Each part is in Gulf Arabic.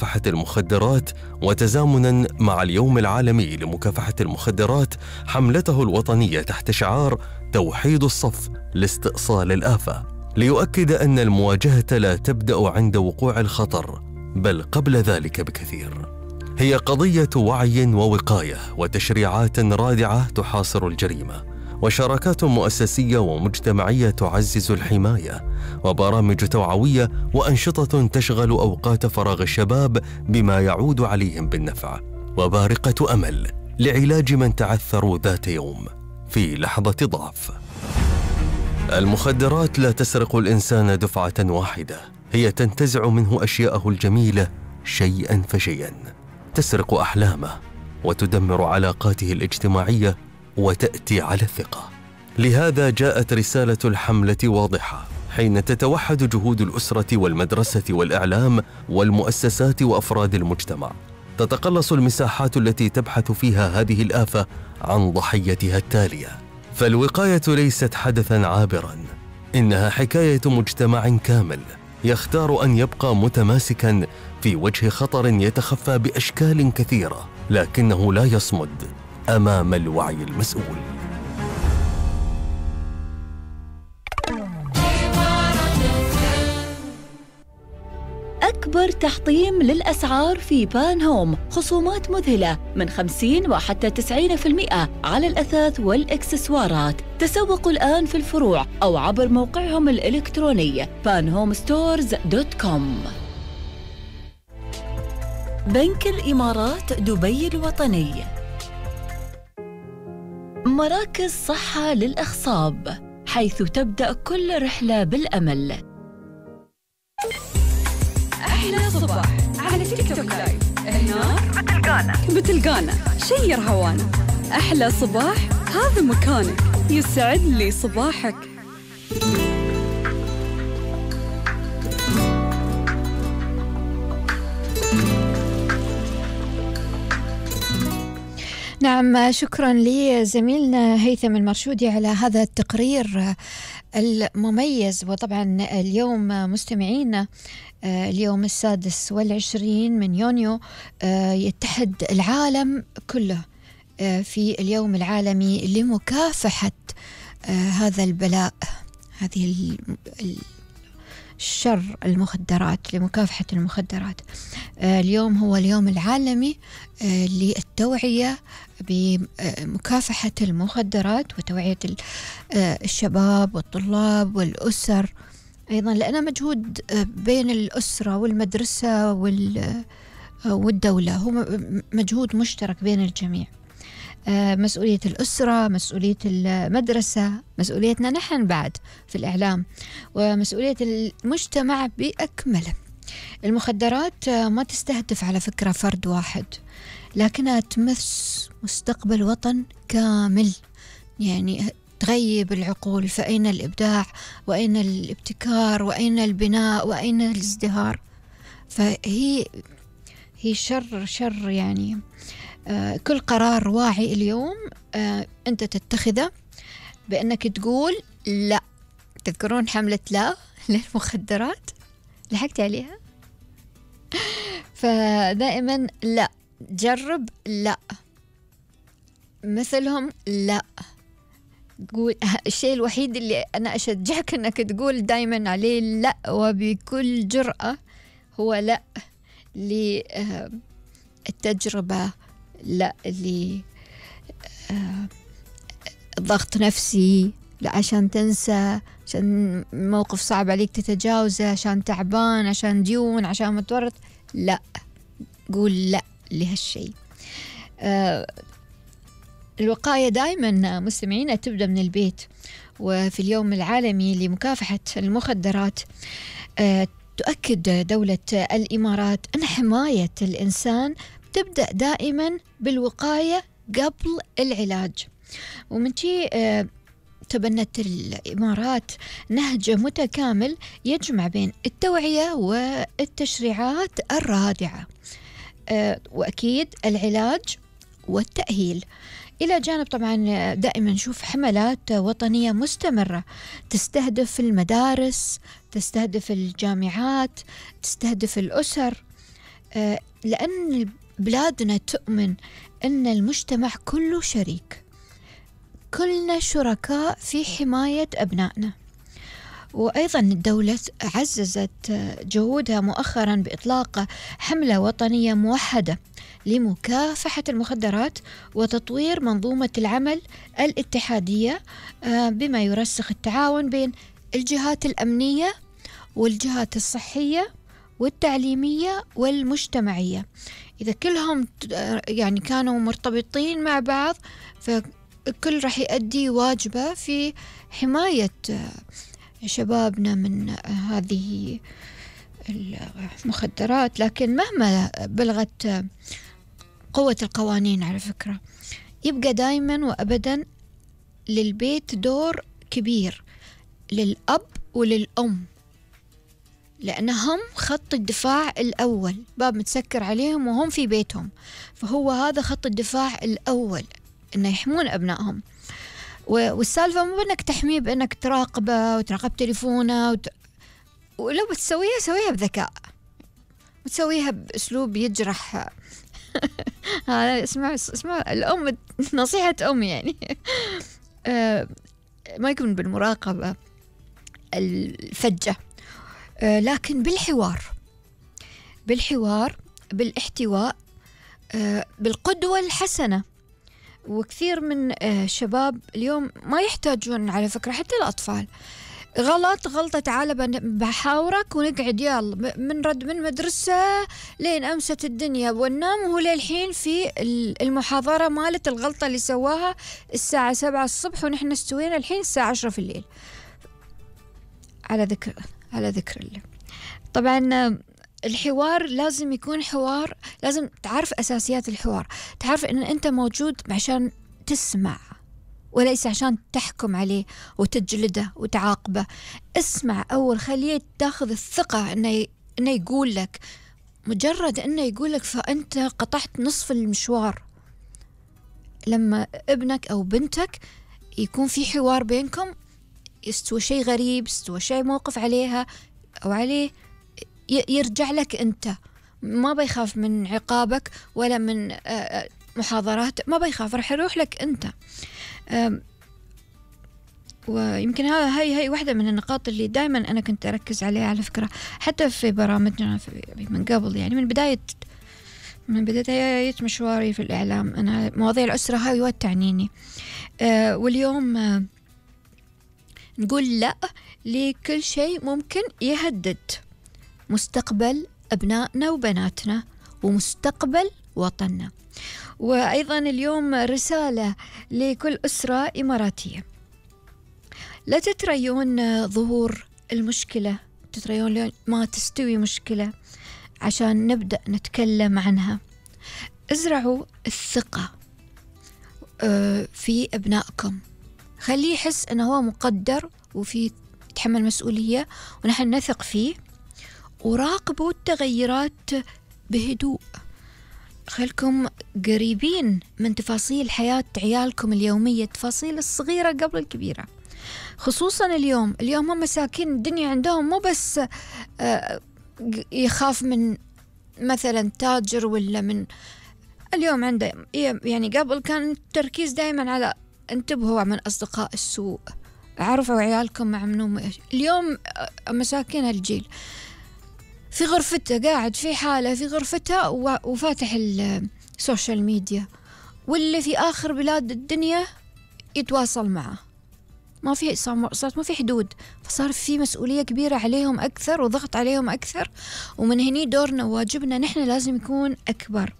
مكافحة المخدرات، وتزامناً مع اليوم العالمي لمكافحة المخدرات حملته الوطنية تحت شعار توحيد الصف لاستئصال الآفة، ليؤكد أن المواجهة لا تبدأ عند وقوع الخطر بل قبل ذلك بكثير. هي قضية وعي ووقاية وتشريعات رادعة تحاصر الجريمة، وشراكات مؤسسية ومجتمعية تعزز الحماية، وبرامج توعوية وأنشطة تشغل أوقات فراغ الشباب بما يعود عليهم بالنفع، وبارقة أمل لعلاج من تعثروا ذات يوم في لحظة ضعف. المخدرات لا تسرق الإنسان دفعة واحدة، هي تنتزع منه أشياءه الجميلة شيئا فشيئا، تسرق أحلامه وتدمر علاقاته الاجتماعية وتأتي على الثقة. لهذا جاءت رسالة الحملة واضحة، حين تتوحد جهود الأسرة والمدرسة والإعلام والمؤسسات وأفراد المجتمع، تتقلص المساحات التي تبحث فيها هذه الآفة عن ضحيتها التالية. فالوقاية ليست حدثاً عابراً، إنها حكاية مجتمع كامل يختار أن يبقى متماسكاً في وجه خطر يتخفى بأشكال كثيرة، لكنه لا يصمد أمام الوعي المسؤول. أكبر تحطيم للأسعار في بان هوم، خصومات مذهلة من 50 وحتى 90% على الأثاث والإكسسوارات. تسوقوا الآن في الفروع أو عبر موقعهم الإلكتروني panhomestores.com. بنك الإمارات دبي الوطني، مراكز صحة للأخصاب، حيث تبدأ كل رحلة بالأمل. أحلى صباح على تيك توك لايف، هناك بتلقانا شير هوانا. أحلى صباح هذا مكانك، يسعد لي صباحك. نعم، شكرا لزميلنا هيثم المرشودي على هذا التقرير المميز. وطبعا اليوم مستمعينا، اليوم 26 من يونيو يتحد العالم كله في اليوم العالمي لمكافحة هذا البلاء، هذه الشر، المخدرات، لمكافحة المخدرات. اليوم هو اليوم العالمي للتوعية بمكافحة المخدرات وتوعية الشباب والطلاب والأسر أيضا، لأنه مجهود بين الأسرة والمدرسة والدولة، هو مجهود مشترك بين الجميع. مسؤولية الأسرة، مسؤولية المدرسة، مسؤوليتنا نحن بعد في الإعلام، ومسؤولية المجتمع بأكمله. المخدرات ما تستهدف على فكرة فرد واحد، لكنها تمس مستقبل وطن كامل، يعني تغيب العقول. فأين الإبداع؟ وأين الابتكار؟ وأين البناء؟ وأين الازدهار؟ فهي شر يعني. كل قرار واعي اليوم أنت تتخذه بأنك تقول لا. تذكرون حملة لا للمخدرات؟ لحقت عليها؟ فدائما لا، جرب لا، مثلهم لا. قول الشيء الوحيد اللي أنا أشجعك أنك تقول دائما عليه لا وبكل جرأة هو لا للتجربة، لا لضغط نفسي، لا عشان تنسى، عشان موقف صعب عليك تتجاوزه، عشان تعبان، عشان ديون، عشان متورط. لا، قول لا لهالشيء. الوقاية دائما مستمعين تبدأ من البيت. وفي اليوم العالمي لمكافحة المخدرات تؤكد دولة الإمارات أن حماية الإنسان تبدأ دائما بالوقاية قبل العلاج. ومن شيء تبنت الإمارات نهج متكامل يجمع بين التوعية والتشريعات الرادعة، وأكيد العلاج والتأهيل، إلى جانب طبعا دائما نشوف حملات وطنية مستمرة تستهدف المدارس، تستهدف الجامعات، تستهدف الأسر. لأن بلادنا تؤمن أن المجتمع كله شريك، كلنا شركاء في حماية أبنائنا. وأيضا الدولة عززت جهودها مؤخرا بإطلاق حملة وطنية موحدة لمكافحة المخدرات وتطوير منظومة العمل الاتحادية، بما يرسخ التعاون بين الجهات الأمنية والجهات الصحية والتعليمية والمجتمعية. إذا كلهم يعني كانوا مرتبطين مع بعض، فالكل راح يؤدي واجبه في حماية شبابنا من هذه المخدرات. لكن مهما بلغت قوة القوانين على فكرة، يبقى دايما وأبدا للبيت دور كبير، للأب وللأم، لأنهم خط الدفاع الأول، باب متسكر عليهم وهم في بيتهم، فهو هذا خط الدفاع الأول، إنه يحمون أبنائهم. والسالفة مو بأنك تحميه بأنك تراقبه وتراقب تليفونه ولو بتسويها سويها بذكاء، وتسويها بأسلوب يجرح هذا اسمع الأم، نصيحة أم يعني ما يكون بالمراقبة الفجة، لكن بالحوار بالاحتواء، بالقدوة الحسنة. وكثير من الشباب اليوم ما يحتاجون على فكرة، حتى الأطفال، غلطة تعال بحاورك ونقعد يلا من رد من مدرسة لين أمست الدنيا وننام، وهو للحين في المحاضرة مالت الغلطة اللي سواها الساعة 7 الصبح ونحن استوينا الحين الساعة 10 في الليل. على ذكر الله. طبعا الحوار لازم يكون حوار، لازم تعرف أساسيات الحوار، تعرف أن أنت موجود عشان تسمع وليس عشان تحكم عليه وتجلده وتعاقبه. اسمع أول، خليه تاخذ الثقة أنه يقول لك، مجرد أنه يقول لك فأنت قطعت نصف المشوار. لما ابنك أو بنتك يكون في حوار بينكم، يستوى شيء غريب، يستوى شيء موقف عليها أو عليه، يرجع لك أنت، ما بيخاف من عقابك ولا من محاضرات، ما بيخاف، رح يروح لك أنت. ويمكن هاي واحدة من النقاط اللي دائما أنا كنت أركز عليها على فكرة، حتى في برامجنا من قبل، يعني من بداية مشواري في الإعلام، أنا مواضيع الأسرة هاي تعنيني. واليوم نقول لا لكل شيء ممكن يهدد مستقبل أبنائنا وبناتنا ومستقبل وطننا. وأيضا اليوم رسالة لكل أسرة إماراتية: لا تتريون ظهور المشكلة، تتريون ما تستوي مشكلة عشان نبدأ نتكلم عنها. ازرعوا الثقة في أبنائكم، خليه يحس أنه هو مقدر وفي يتحمل مسؤولية ونحن نثق فيه. وراقبوا التغيرات بهدوء، خلكم قريبين من تفاصيل حياة عيالكم اليومية، التفاصيل الصغيرة قبل الكبيرة. خصوصا اليوم هم مساكين، الدنيا عندهم مو بس يخاف من مثلا تاجر ولا من، اليوم عنده يعني قبل كان التركيز دائما على انتبهوا من أصدقاء السوء، عرفوا عيالكم مع منهم. اليوم مساكين هالجيل في غرفته، قاعد في حالة في غرفتها وفاتح السوشيال ميديا، واللي في آخر بلاد الدنيا يتواصل معه، ما في صارت ما في حدود، فصار في مسؤولية كبيرة عليهم أكثر وضغط عليهم أكثر. ومن هني دورنا وواجبنا نحن لازم يكون أكبر،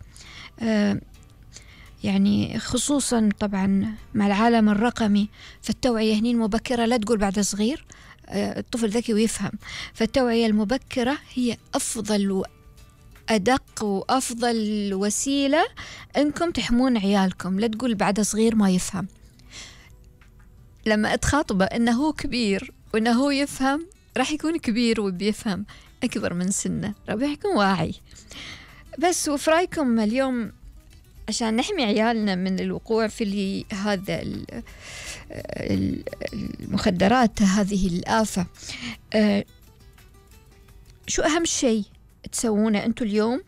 يعني خصوصا طبعا مع العالم الرقمي، فالتوعية هني المبكرة، لا تقول بعد صغير، الطفل ذكي ويفهم، فالتوعية المبكرة هي أفضل وأدق وأفضل وسيلة أنكم تحمون عيالكم. لا تقول بعد صغير ما يفهم، لما أتخاطبه أنه هو كبير وأنه هو يفهم، راح يكون كبير وبيفهم أكبر من سنه، راح يكون واعي. بس وفي رأيكم اليوم عشان نحمي عيالنا من الوقوع في هذا المخدرات، هذه الآفة، شو أهم شيء تسوونه أنتوا اليوم